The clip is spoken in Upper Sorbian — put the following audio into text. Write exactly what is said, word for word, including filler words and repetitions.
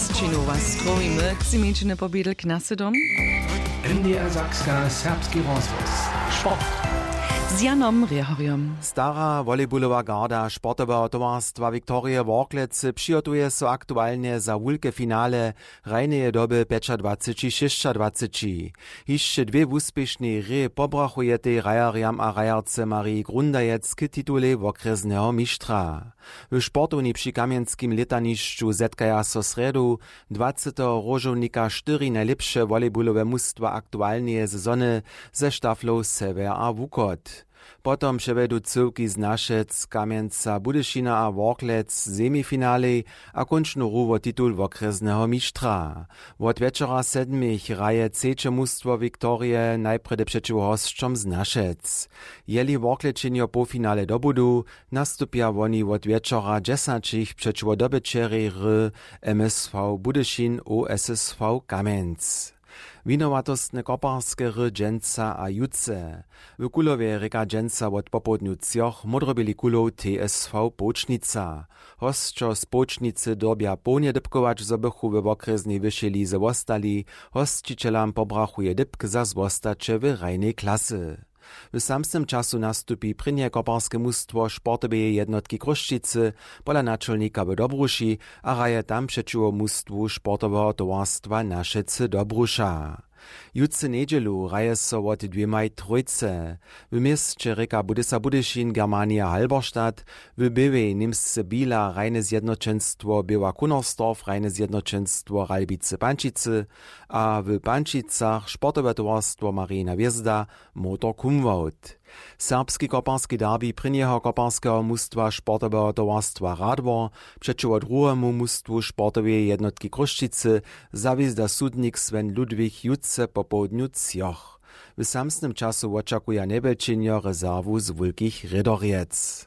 Činowa strowimy k zimničiny pobědl k nasedom. N D R Sakska, serbski rozhłos. Sport. Z Janom Rjehorjom. Stara volejbulowa garda sportoweho towarstwa Viktorije Worklecy přihotuje so aktualnje za wulke finale hrajneje doby pjećadwaceći šěsćadwaceći. Hišće dwě wuspěšnej hrě pobrachujetej hrajerjam a hrajerce Mariji Grundajec k titulej wokrjesneho mištra. W sportowni při kamjenskim lětanišću zetkaja so srjedu dwaceteho róžownika štyri najlěpše volejbulowe mustwa aktualneje sezony ze štaflow sewjer a wuchod. Potom přewjedu cyłki z našec kamjenca budyšina a worklec semifinalej a kónčnu hru wo titul wokrjesneho mištra. Wot wječora sedmich hraje třeće mustwo viktorije najprjedy přećiwo hosćom z našec. Jeli worklećenjo połfinale dobudu, nastupja woni wot wječora dźesaćich přećiwo dobyćerjej hry msv budyšin osv kamjenc. Winowatostne koparske hry dźensa a jutře. W kulowje rěka dźensa wot popołdnju třoch módroběli kulow tsv połčnica. Hosćo z połčnicy dyrbja połnje dypkować, zo bychu we wokrjesnej wyšej lize wostali. Hosćićelam pobrachuje dypk za zwostaće w hrajnej klasy. W samsnym času nastupi prěnje koparske mustwo sportoweje jednotki chrósćicy pola načolnika w dobruši a hraje tam přećiwo mustwu sportoweho towarstwa našecy dobruša. Jutře njedźelu hraje so wot dwěmaj trójce. W měsće rěka budysa budyšin germania halberstadt, w běłej němsce bila hrajne zjednoćenstwo běła kunersdorf hrajne zjednoćenstwo ralbicy pančicy a w pančicach sportowe towarstwo marijina hwězda motor kumwołt. Serbski koparski derbi prěnjeho koparskeho mustwa sportoweho towarstwa radwor přećiwo druhemu mustwu sportoweje jednotki chrósćicy zawězda sudnik sven ludwig jutře popołdnju třoch. W samsnym času wočakuja njewjelčenjo rezerwu z wulkich rědorjec.